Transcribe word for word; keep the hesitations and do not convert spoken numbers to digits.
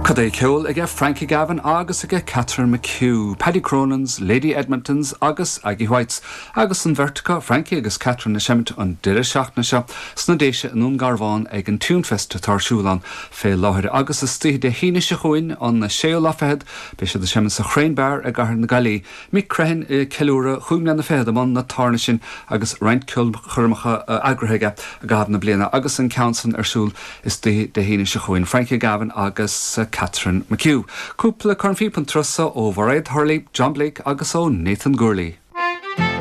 Cad é ceol aige Frankie Gavin agus aige Catherine McHugh, Paddy Cronin's, Lady Edmonton's agus Aggie White's, agus an bheirt acu Frankie agus Catherine ag seimint an deireadh seachtaine seo sna Déise i nDún Garbhán ag an Tunefest atá ar siúl ann fé láthair agus istoíche Dé hAoine seo chugainn an séú lá fichead, beidh siad ag seimint sa Chrane Bar i gCathair na Gaillimhe. Mick Crehan ag ceiliúradh chúig mbliana fichead i mbun na tábhairne sin agus roinnt ceolchoirmeacha eagraithe aige i gcaitheamh na bliana agus an ceann san ar siúl istoíche Dé hAoine seo chugainn Frankie Gavin agus Catherine McHugh. Cúpla cornphíopa an turas seo ó Mhairéad Hurley, John Blake agus ó Nathan Gourley.